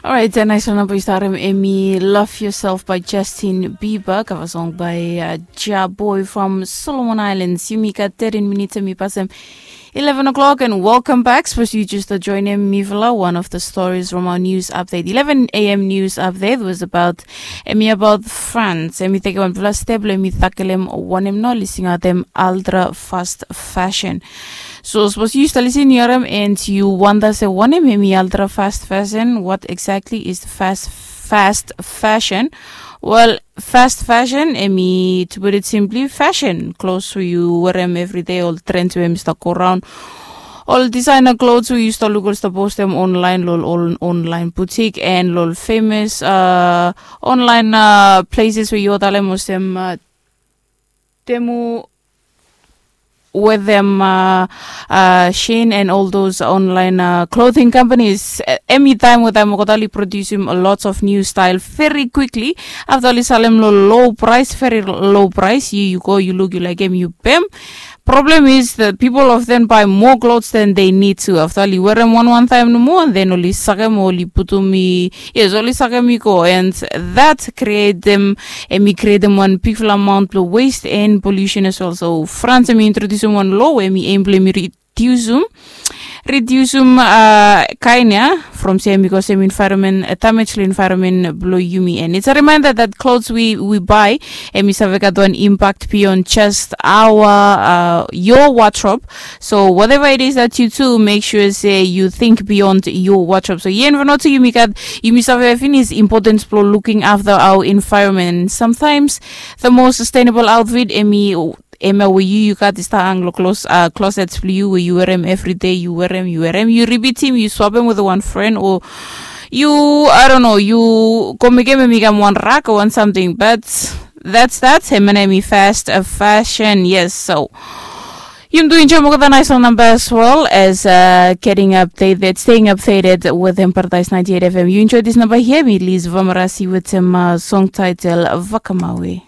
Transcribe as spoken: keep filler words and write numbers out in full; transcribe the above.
Alright, a nais wan namba yu stap harem, emi Love Yourself by Justin Bieber, kava song by uh, Ja Boy from Solomon Islands. Yumi gat thirteen minutes, emi pasem eleven o'clock, and welcome back. Suppose you just uh, join him, mifala. One of the stories from our news update, eleven a m news update, was about emi about France. Emi tekem wanfala step blong emi takelem wanem nao oli singaotem ultra fast fashion. So suppose you start listening, yu harem, and you wonder se wanem emi ultra fast fashion. What exactly is the fast fast fashion? Well, fast fashion, emi, to put it simply, fashion clothes we you wear them every day, all trends we emi start go around, all designer clothes we you start look, all start post them online, lol, all online boutique and lol famous uh, online uh, places we you talem osem uh, Temu with them uh, uh, Shein and all those online uh, clothing companies. Emi taem we taem olgeta oli produsim lots of new style very quickly. Afta oli salem lo low price, very low price, you, you go, you look, you like him, you pem. Problem is the people of them buy more clothes than they need to. Afta oli wear them one one time no more, and then oli sakem, oli putum i, yes, oli sakem i go, and that create them emi createm wan bigfala amount blong waste and pollution as well. So France emi introdusim wan law emi aim blong emi redusim redusim uh, kain ya from se emi kosem environment uh, damage long environment blong yumi, and it's a reminder that clothes we, we buy emi save gat wan impact beyond just our uh, your wardrobe. So whatever it is that you do, make sure se you think beyond your wardrobe. So yen vanotu yumi gat, yumi save finis importance blong looking after our environment. Sometimes the most sustainable outfit emi emi we yu yu gat i stap hang lo close uh, closet blong yu we yu wear them every day, yu wear them, yu wear them, yu repeat them, yu swap them with one friend, or yu, I don't know, yu go mekem emi kam one rack or one something. But that's that. Hemia nao emi fast uh, fashion, yes. So yumi do enjoy olgeta nais wan namba as well as uh, getting updated, staying updated with him Paradise ninety-eight F M. You enjoy this number here, mi Liz Vamarasi with him uh, song title Vakamawe.